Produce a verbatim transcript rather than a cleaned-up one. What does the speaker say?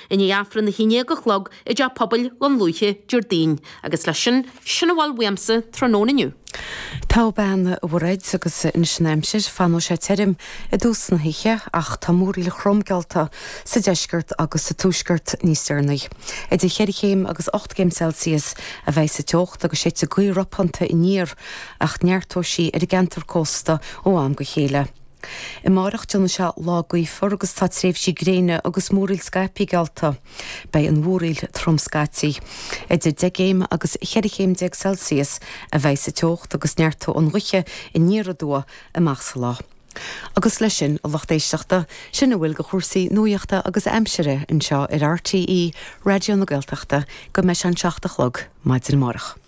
I ndiaidh Aifreann a haon déag a chlog i dTeach Pobail Dhún Lúiche Déardaoin. Agus leis sin, sin a bhfuil uaimse tráthnóna inniu. Tá a bhean a Mhairéad agus anois an aimsir, fanfaidh sé tirim i dtús na hoíche ach tá múraíl throm geallta sa deisceart agus sa tuaisceart níos deireanaí. Idir cheithre chéim agus ocht gcéim Celsius a bheidh sa teocht agus séidfidh gaoth ropánta aniar ach neartóidh sí ar an gceantar cósta ó am go chéile. Amárach déanfaidh sé lá gaofar agus tá tréimhsí gréine agus múraíl scaipthe geallta. Beidh an mhúraíl trom scaití. Idir deich gcéim agus cheithre chéim déag Celsius a bheidh sa teocht agus neartóidh an ghaoth aniar aduaidh amach sa lá. Agus leis sin a lucht éisteachta, sin a bhfuil de chúrsaí nuachta agus aimsire anseo ar RTÉ Raidió na Gaeltachta go mbeidh sé an seacht a chlog maidin amárach.